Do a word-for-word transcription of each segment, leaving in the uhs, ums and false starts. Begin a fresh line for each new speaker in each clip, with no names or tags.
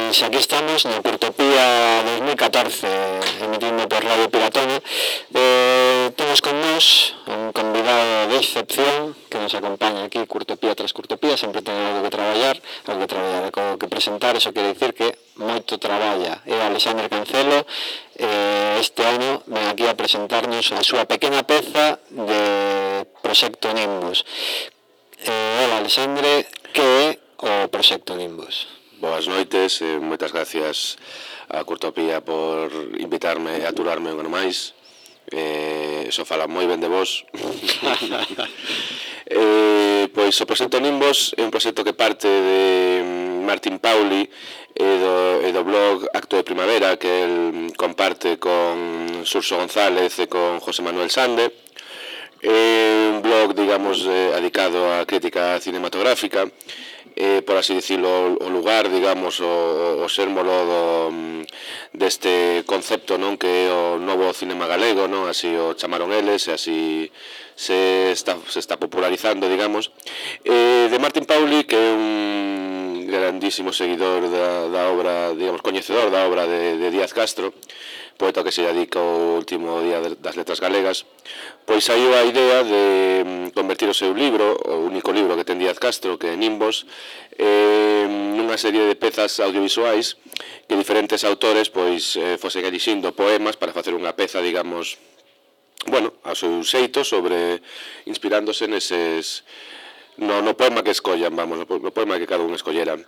Pois aquí estamos no Curtopía dos mil catorce, emitindo por Radio Piratona. Eh, temos con nós un convidado de excepción que nos acompaña aquí, Curtopía tras Curtopía, sempre ten algo que traballar, algo que traballar, algo que presentar, eso quere dicir que moito traballa. É Alexandre Cancelo, eh, este ano ven aquí a presentarnos a súa pequena peza de Proxecto Nimbus. Eh, hola Alexandre, que é o Proxecto Nimbus?
Boas noites e moitas gracias a Curtopía por invitarme a aturarme un ano máis. Eh, Eso fala moi ben de vos. eh, pois o Proxecto Nimbus é un proxecto que parte de Martín Pauli e do, e do blog Acto de Primavera, que el comparte con Surso González e con José Manuel Sande. É un blog, digamos, eh, dedicado á crítica cinematográfica. Eh, por así dicilo, o lugar, digamos, o, o sérmolo do, deste concepto, non, que é o novo cinema galego, non, así o chamaron eles, e así se está, se está popularizando, digamos. Eh, de Martín Pauli, que é un grandísimo seguidor da, da obra, digamos, coñecedor da obra de, de Díaz Castro, poeta que se dedica ao último día das letras galegas, pois saiu a idea de convertir o seu libro, o único libro que ten Díaz Castro, que é Nimbos, eh, nunha serie de pezas audiovisuais que diferentes autores pois eh, fosen elixindo poemas para facer unha peza, digamos, bueno, ao seu xeito, sobre inspirándose neses no, no poema que escollan, vamos, no poema que cada un escollera.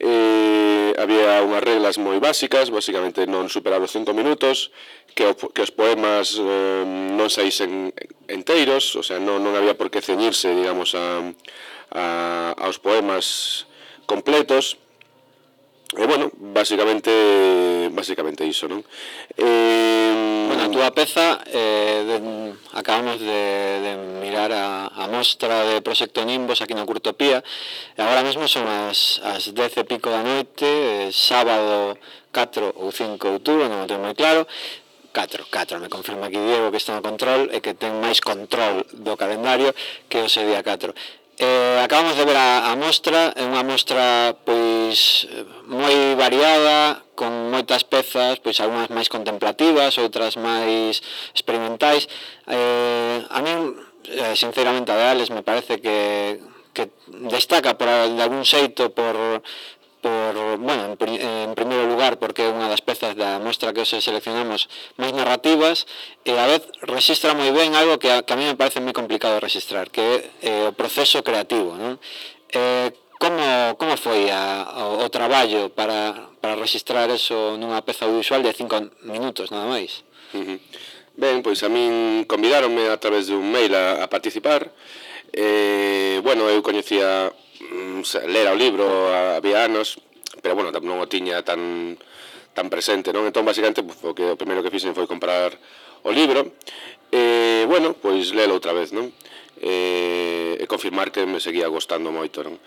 Eh, había unhas reglas moi básicas, basicamente non superar os cinco minutos, que, o, que os poemas eh, non saísen enteiros, o sea, non, non había por que ceñirse, digamos, a, a, aos poemas completos. E, bueno, basicamente basicamente iso, non?
Eh, bueno, a túa peza eh, de, acabamos de, de mirar a, a mostra de Proxecto Nimbos aquí na Curtopía e agora mesmo son as, as dez e pico da noite, eh, sábado catro ou cinco de outubro, non o tengo moi claro. catro, catro, me confirma aquí Diego que está no control e que ten máis control do calendario que o ese día catro. Eh, acabamos de ver a, a mostra, é unha mostra pois moi variada, con moitas pezas, pois algunhas máis contemplativas, outras máis experimentais. Eh, a min, eh, sinceramente, a de Alex me parece que, que destaca por, de algún xeito por... por, bueno, en, en primeiro lugar porque é unha das pezas da mostra que os seleccionamos máis narrativas e a vez rexistra moi ben algo que a, que a mí me parece moi complicado de rexistrar, que é eh, o proceso creativo, non? Eh, como, como foi a, o, o traballo para, para rexistrar eso nunha peza audiovisual de cinco minutos, nada máis?
Uh-huh. Ben, pois a min convidaronme a través de un mail a, a participar. Eh, bueno, eu coñecía lera o libro había anos, pero bueno, non o tiña tan tan presente, non? Entón, basicamente, o que o primeiro que fixen foi comprar o libro e, bueno, pois lelo outra vez, non? E, e confirmar que me seguía gostando moito, non?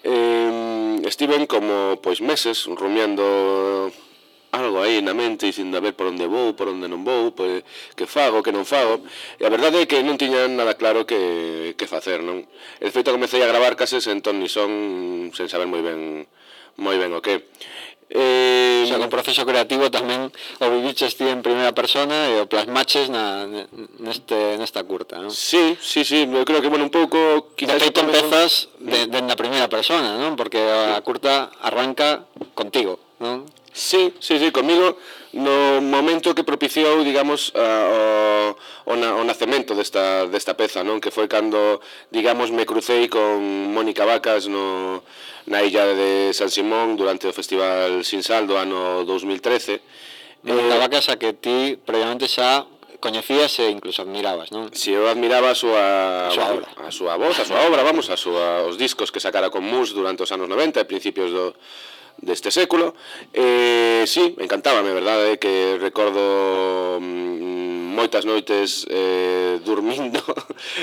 E, estiven como, pois, meses rumiando algo aí na mente, dicindo a ver por onde vou, por onde non vou, pois, que fago, que non fago, e a verdade é que non tiña nada claro que, que facer, non? E de feito comecei a gravar cases en ton ni son, sen saber moi ben moi ben o que.
Eh, o sea, con proceso creativo tamén o viviches ti en primeira persona e o plasmaches na, neste, nesta curta, non?
Sí, sí, sí, eu creo que, bueno, un pouco...
De feito empezas de, de na primeira persona, non? Porque a curta arranca contigo, non?
Sí, sí, sí, comigo no momento que propiciou, digamos, uh, o, o, na, o nacemento desta, desta peza, non? Que foi cando, digamos, me crucei con Mónica Vacas no, na illa de San Simón durante o Festival Sinsal do ano dous mil trece.
Mónica eh, Vacas a que ti previamente xa coñecías e incluso admirabas, non?
Si, eu admiraba a súa,
a súa obra,
a súa voz, a súa obra, vamos, a súa, os discos que sacara con Mus durante os anos noventa e principios do deste século. Eh, sí, encantábame, verdade, que recordo mm, moitas noites eh, dormindo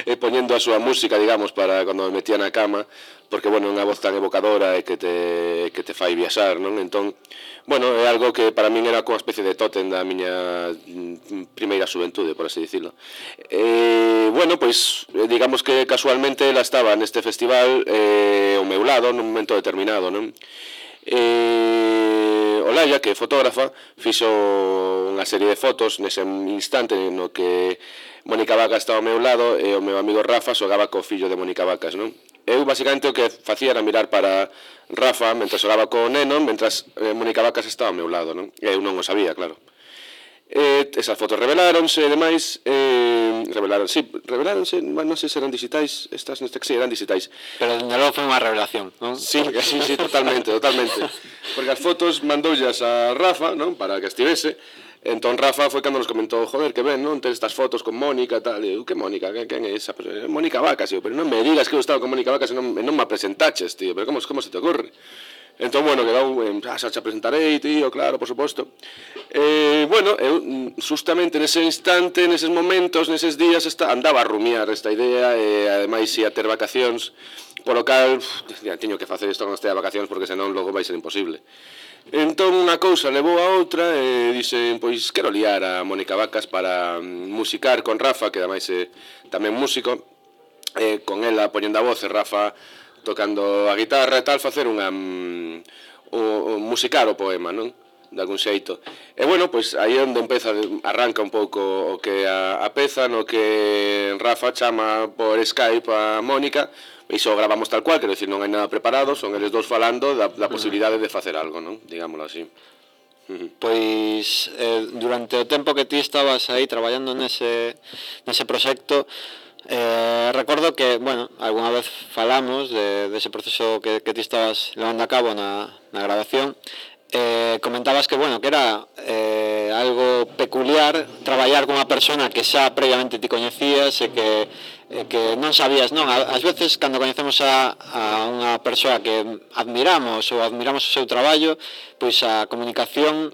e poñendo a súa música, digamos, para cando me metía na cama, porque, bueno, é unha voz tan evocadora e que te, que te fai viaxar, non? Entón, bueno, é algo que para min era como unha especie de tótem da miña primeira xuventude, por así dicilo. Eh, bueno, pois, digamos que casualmente ela estaba neste festival eh, ao meu lado, nun momento determinado, non? Eh, Olaya, que é fotógrafa, fixo unha serie de fotos nese instante no que Mónica Vacas estaba ao meu lado e o meu amigo Rafa xogaba co fillo de Mónica Vacas, non? Eu, basicamente, o que facía era mirar para Rafa mentre xogaba co neno, mentras eh, Mónica Vacas estaba ao meu lado, non? E eu non o sabía, claro. Eh, esas fotos reveláronse e demais eh, revelaron, sí, reveláronse, non sei se eran digitais, estas neste que sí, eran digitais.
Pero dende logo foi unha revelación, non?
Sí, sí, sí, totalmente, totalmente. Porque as fotos mandoullas a Rafa, non, para que estivese. Entón Rafa foi cando nos comentou, joder, que ben, non, ter estas fotos con Mónica e tal. E eu, que Mónica, que, quen é esa? Pues, é Mónica Vacas, eu, pero non me digas que eu estaba con Mónica Vacas e non, non me presentaches, tío, pero como, como se te ocurre? Entón, bueno, quedou, eh, ah, xa te presentarei, tío, claro, por suposto. Eh, bueno, eu, justamente nese instante, neses momentos, neses días, esta, andaba a rumiar esta idea e, ademais, ia ter vacacións, polo cal, uf, teño que facer isto con este de vacacións porque senón logo vai ser imposible. Entón, unha cousa levou a outra e dixen, pois, quero liar a Mónica Vacas para musicar con Rafa, que ademais é tamén músico, e con ela poñendo a voz e Rafa tocando a guitarra e tal, facer unha um, o, o musicar o poema, non? De algún xeito. E bueno, pois aí é onde empeza, arranca un pouco o que a, a peza, no que Rafa chama por Skype a Mónica, e iso gravamos tal cual, quero dicir, non hai nada preparado, son eles dous falando da, da posibilidade de facer algo, non? Digámoslo así.
Pois eh, durante o tempo que ti estabas aí traballando nese, nese proxecto, Eh, recordo que, bueno, alguna vez falamos de, de ese proceso que, que ti estabas levando a cabo na, na grabación. Eh, comentabas que, bueno, que era eh, algo peculiar traballar con unha persona que xa previamente ti coñecías e que, eh, que non sabías, non? Ás veces, cando coñecemos a, a unha persoa que admiramos ou admiramos o seu traballo, pois a comunicación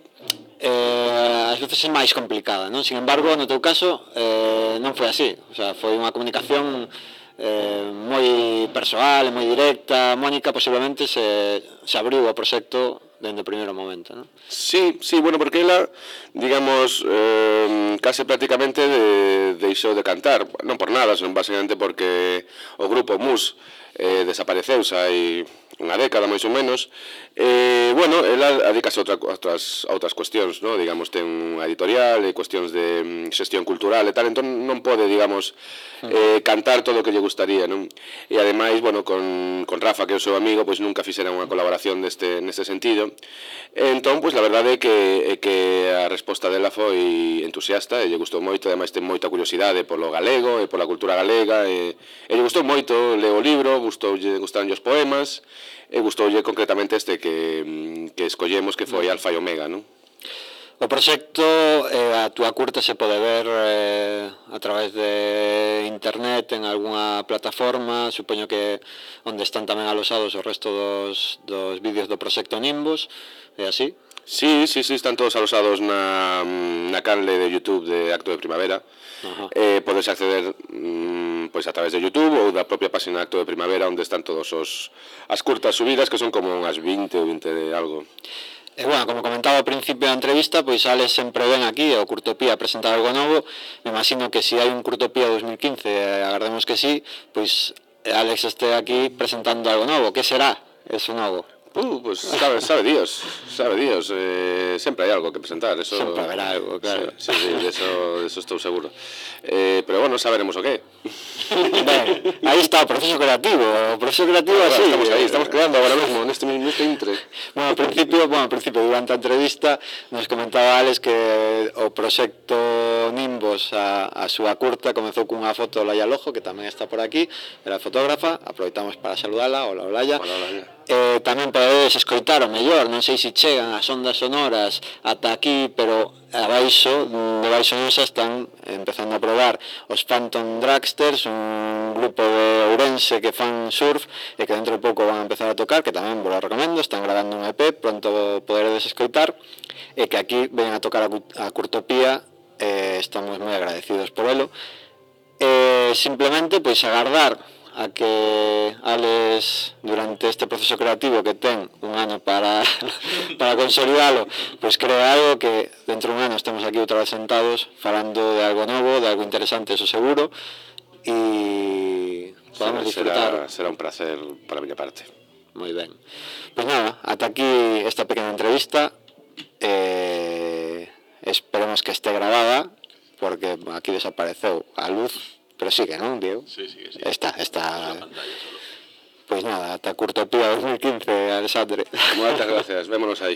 eh, ás veces é máis complicada, non? Sin embargo, no teu caso eh, non foi así, o sea, foi unha comunicación eh, moi persoal, moi directa. Mónica posiblemente se, se abriu ao proxecto dende o primeiro momento, non?
Sí, sí, bueno, porque ela, digamos, eh, case prácticamente de, deixou de cantar, non por nada, senón basicamente porque o grupo Mus eh, desapareceu xa hai unha década máis ou menos. Eh, bueno, ela adicase a outra, outras, outras cuestións, ¿no? Digamos, ten unha editorial e cuestións de xestión cultural e tal, entón non pode, digamos, eh, cantar todo o que lle gustaría, non? E ademais, bueno, con, con Rafa, que é o seu amigo, pois nunca fixeran unha colaboración deste, neste sentido. Entón, pois, la verdade é que, é que a resposta dela foi entusiasta e lle gustou moito, ademais ten moita curiosidade polo galego e pola cultura galega e, e lle gustou moito, leo o libro, gustoulle, gustaron os poemas e gustoulle concretamente este que, que escollemos, que foi Alfa e Omega, non?
O proxecto, eh, a túa curta se pode ver eh, a través de internet en algunha plataforma, supoño que onde están tamén alosados o resto dos, dos vídeos do proxecto Nimbos, é así?
Sí, sí, sí, están todos alosados na, na canle de YouTube de Acto de Primavera. Uh-huh. Eh, podes acceder mm, pois a través de YouTube ou da propia página Acto de Primavera, onde están todos os as curtas subidas, que son como unhas vinte ou vinte de algo.
E, bueno, como comentaba ao principio da entrevista, pois Alex sempre ven aquí ao Curtopía a presentar algo novo. Me imagino que se hai un Curtopía dos mil quince, eh, agardemos que sí, pois Alex este aquí presentando algo novo. Que será eso novo?
Uh, pues sabe, sabe Dios, sabe Dios, eh, sempre hai algo que presentar, eso...
Sempre haberá algo, claro.
Sí, sí, sí, de eso, de eso estou seguro. Eh, pero bueno, saberemos o qué.
Ben, aí está o proceso creativo, o proceso creativo
bueno,
así.
Estamos aí, estamos creando agora mesmo, neste, neste intre.
Bueno, ao principio, bueno, ao principio, durante a entrevista, nos comentaba Alex que o proxecto Nimbos, a, a súa curta, comezou cunha foto de Olaya Lojo, que tamén está por aquí, era fotógrafa, aproveitamos para saludala. Hola, Olaya.
Hola, Olaya.
Eh, tamén podedes escoitar o mellor, non sei se chegan as ondas sonoras ata aquí, pero abaixo, debaixo nosa están empezando a probar os Phantom Dragsters, un grupo de Ourense que fan surf e que dentro de pouco van a empezar a tocar, que tamén vos lo recomendo, están grabando un E P, pronto poderedes escoitar, e que aquí ven a tocar a, a Curtopía, eh, estamos moi agradecidos por elo. Eh, simplemente, pois, agardar a que Alex, durante este proceso creativo que ten un ano para para consolidalo, pois crea algo que dentro de un ano estemos aquí outra vez sentados falando de algo novo, de algo interesante, eso seguro, e podamos disfrutar.
Será, será un placer para a miña parte.
Moi ben. Pois nada, ata aquí esta pequena entrevista. esperemos que esté grabada, porque aquí desapareceu a luz, pero sigue, non, Diego?
Sí, sí, sí.
Está, está...
Pois
Pois nada, ata Curtopía dos mil quince, Alexandre.
Moitas gracias, vémonos aí.